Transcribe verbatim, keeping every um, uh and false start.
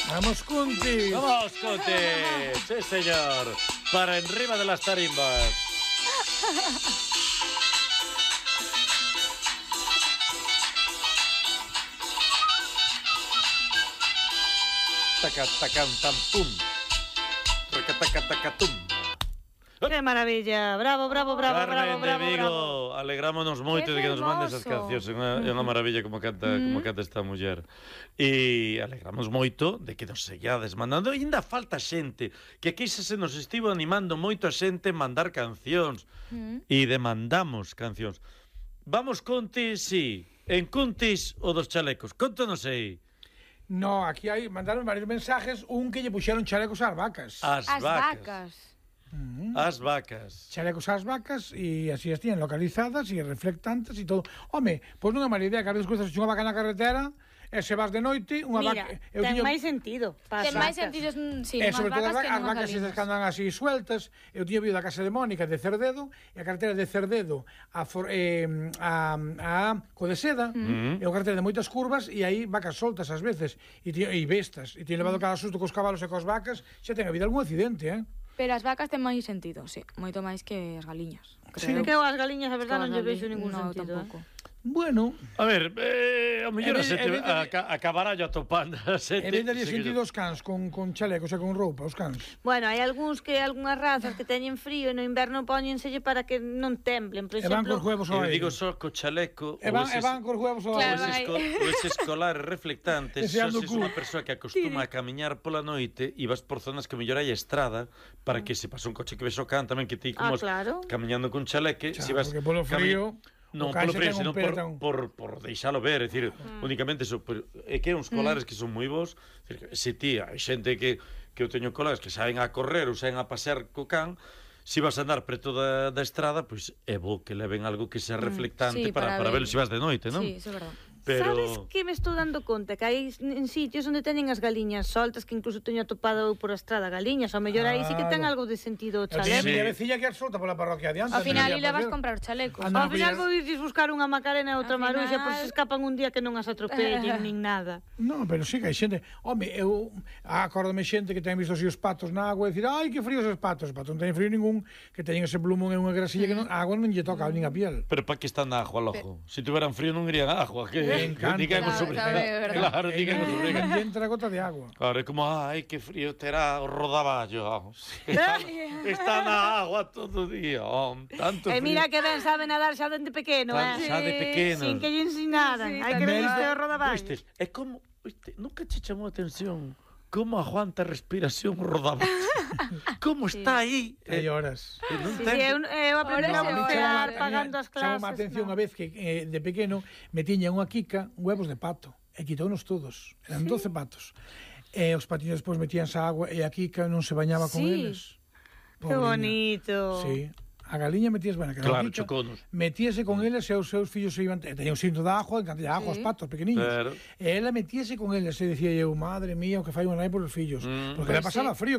Vamos, Cuntis. Vamos, Cuntis. Sí, señor. Para enriba de las tarimbas. Taca, tacan, tam, pum. Taca, taca, taca, tum. Que maravilla, bravo, bravo, bravo, Carmen bravo, bravo, de Vigo, bravo. alegrámonos moito de que nos mande esas cancións. É unha, é unha maravilla como canta, mm. como canta esta muller. E alegramos moito de que nos seguades mandando. E ainda falta xente, que aquí se nos estivo animando moito a xente mandar cancións. Mm. E demandamos cancións. Vamos, Cuntis, sí. En Cuntis o dos chalecos. Contanos aí. No, aquí hai, mandaron varios mensajes, un que lle puxeron chalecos ás vacas. As, As vacas. vacas. Mm. As vacas. Chalecos ás vacas e así as tienen localizadas e reflectantes e todo. Home, pois non é mala idea que ás veces cruzas unha vaca na carretera e se vas de noite, unha Mira, vaca... ten tiño... máis sentido. Ten máis sentido, sí, e sobre todo vacas as, que as non vacas esas que andan así sueltas. Eu tiño vido da casa de Mónica de Cerdedo e a carretera de Cerdedo a, for, eh, a, a Codeseda mm. e a carretera de moitas curvas e aí vacas soltas ás veces e, tiño, e bestas e tiño levado cada susto cos cabalos e cos vacas, xa ten habido algún accidente, eh? Pero as vacas ten máis sentido, sí, moito máis que as galiñas. Sí, que as galiñas, a verdade, non lle vexo ningún no, sentido. Tampouco. Eh? Bueno, a ver, eh, a mellor vez, a, a, a, acabará yo atopando a sete. E vez daría sentido os cans con, con chalecos e con roupa, os cans. Bueno, hai algúns que algunhas razas que teñen frío e no inverno póñenselle para que non temblen, por exemplo. E van cos huevos ao aire. Eu digo só co chaleco. E van, e van cos huevos ao claro, aire. Ou ese escolar reflectante, se es unha persoa que acostuma a camiñar pola noite e vas por zonas que mellor hai estrada para que se pasa un coche que ves o can tamén que ti como ah, claro. camiñando cun chaleque, Xa, se vas porque polo frío... Non, polo frío, senón por, por, por deixalo ver, é dicir, mm. únicamente eso, por, é que hai uns colares mm. que son moi bons, é dicir, se ti, hai xente que, que eu teño colares que saen a correr ou saen a pasear co can, se vas a andar preto da, da estrada, pois é bo que leven algo que sea reflectante mm, sí, para, para, para ver se vas de noite, non? Sí, iso é verdade. Pero... Sabes que me estou dando conta? Que hai en sitios onde teñen as galiñas soltas, que incluso teño atopado por a estrada galiñas, ao mellor aí sí que ten algo de sentido o chaleco. Sí. A vecilla que é solta pola parroquia adiante. Ao final e le vas comprar chalecos. Ao final vou irdes buscar unha Macarena e outra Maruxa, por se escapan un día que non as atropellen, nin nada. Non, pero sí que hai xente... Home, eu acórdame xente que ten visto así os patos na agua e dicir, ai, que fríos os patos. Os patos non teñen frío ningún, que teñen ese plumón en unha grasilla que non, a agua non lle toca nin a piel. Pero para que están na agua, lojo? Se si tuveran frío non irían a agua, que... Me encanta. Claro, digan os obrigas. E entra a gota de agua. Claro, é como, ai, que frío terá o rodaballo. Está, está na agua todo o día. Oh, tanto e mira que ben sabe nadar xa dende pequeno, Tan, eh? Xa de pequeno. Sin que lle ensinaran. Sí, hai que ver este o rodaballo. É como, viste, nunca che chamou a atención como aguanta a respiración rodaballo. Como sí. Está aí. Hai horas. Eh, non sí, ten... eu, eu aprendi a bucear pagando as clases. Chamou a atención no. A vez que eh, de pequeno me tiña unha quica huevos de pato e quitounos todos. Eran sí. doce patos. E os patiños despois metíanse a agua e a quica non se bañaba con sí. eles. Que bonito. Sí. A galiña metías, bueno, que claro, quica, choconos. Metíase con eles e os seus fillos se iban... Teña un cinto de ajo, encantilla ajo, sí. Os patos pequeniños. Pero... E ela metíase con eles e decía eu, madre mía, o que fai unha nai por os fillos. Mm, porque pues le pasaba sí. Frío.